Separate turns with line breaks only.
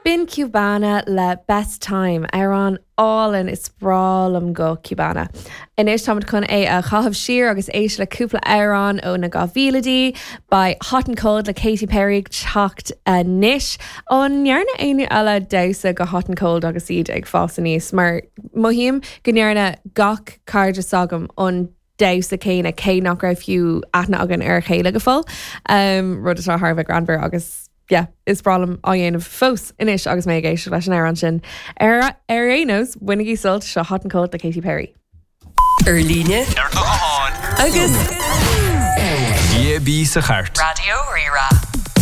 B'in Cubana le Best Time, amhrán álainn, is breá liom guth Cubana. Anois táimid chun é a chaitheamh siar agus éisteacht le cúpla amhrán ó na 2000idí. Beidh Hot and Cold le Katy Perry ag teacht anois. An ndearna éinne eile damhsa go Hot and Cold agus iad ag fás aníos? Mar mothaím go ndearna gach cairde s'agam an damhsa céanna cé nach raibh fiú aithne againn ar a chéile go fóill, rud atá thar a bheith greannmhar agus yeah, is breá liom á dhéanamh fós anois agus mé ag éisteacht leis an amhrán sin. Ar ar aon nós, bainigí sult, seo Hot and Cold le Katy Perry.
Ar líne,
Ar do ghuthán.
Agus
DAB sa chairt.
Raidió Rí-Rá.